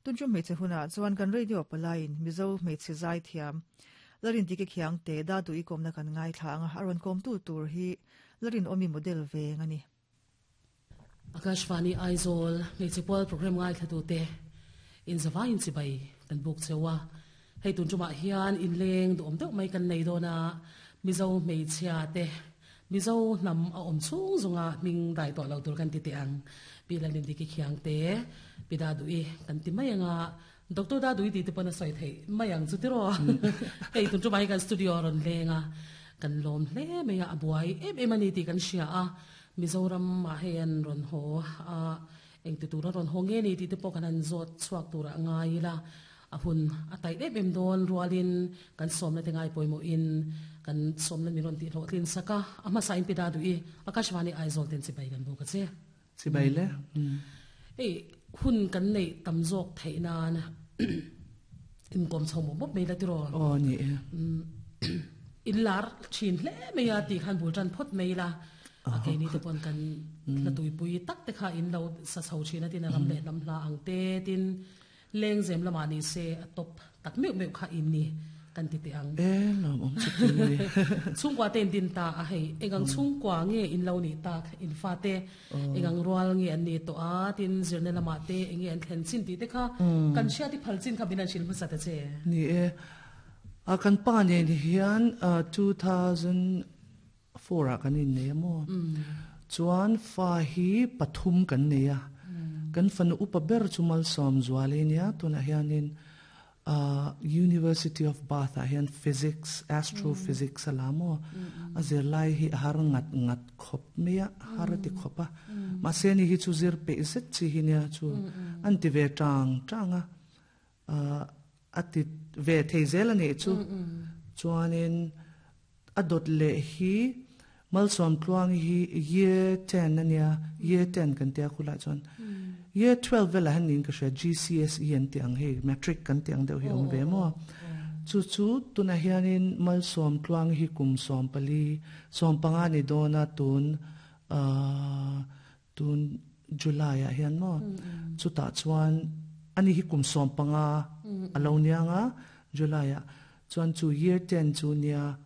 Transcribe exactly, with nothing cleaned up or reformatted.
Tun chu hmeichhe hunah chuan kan radio palaiin Mizo hmeichhe zai thiam Larin dike khiang te da du i komna kan ngai thla anga aron kom tu tur hi Larin omi model ve ngani. Akashvani Aizawl hmeichhe pual program ngai thlatu te in zawa in chibai kan buk chewa. Hei, tun chuma hian in leng du om deuh mai kan nei dona. Mizo hmeichhia te, Mizo nam a om chung zunga ming dai to lo tur kan ti te ang pi Lalin Diki Khiang te, pi Da Dui kan ti mai anga. Doctor Da Dui ti te pona soi thei mai ang chu tiro. Hei, tun chuma hi kan studio ron lenga, kan lom hle mai a. Abuai em em ani ti kan sia a. Mizoram ma hen ron ho a, eng ti tura ron ho nge ni ti te pawh kan han zawt chhuak tura ngai la. A hun a tai em em don rualin kan somna te ngai poimo in kan somna mi ron ti hlo tlin saka. Ama sa in pi Da Dui, Akashvani Aizawl ten chibai kan bu ka che. Chibai le. Ei, hun kan nei tam zawk theina na in kom chho mo mop mai la tiro. O, ni e. In lar thin hle mai a ti khan bul tan phot mai la. A ke ni te pon kan la tui pui tak te kha in lo sa chho thina tin ram le lam hla ang te tin leng zem lama ni se a top tak meu meu kha in ni kan ti te ang. E, lom om chu tin ni. Chungkwa ten din ta a. Hei, engang chungkwa nge in lo ni tak? In fa te engang rual nge an ni to a? Tin zirne lama te enge an thlen chin ti te kha kan sia ti phal chin kha binan sil hmasa ta che. Ni e, a kan pa ne ni hian two thousand four a kan in nei mo. Chuan fa hi pathum kan nei a. Kan fanu upa ber chumal som zuale nia. Tuna hianin uh, University of Bath ah hian physics, astrophysics alamo. A zir lai hi har ngat ngat khop mea har ti khopa ma se ni hi chu zir pe zet chi hi nia. Chu an ti ve tang tanga uh, ati ve theizel ani chu. Chuanin adot le hi Malsom Tluang hi year ten ania, year ten kan tia khula. Chuan year twelve vela han nin ka hria, G C S E an ti ang, hei matric kan ti ang deuh hi om ve mo chu. Chu tuna hianin Malsom Tluang hi kum som pali som panga ni dona tun uh, tun July a hian mo. Chu ta chuan ani hi kum som panga alo nianga July a. Chuan chu year ten chu nia.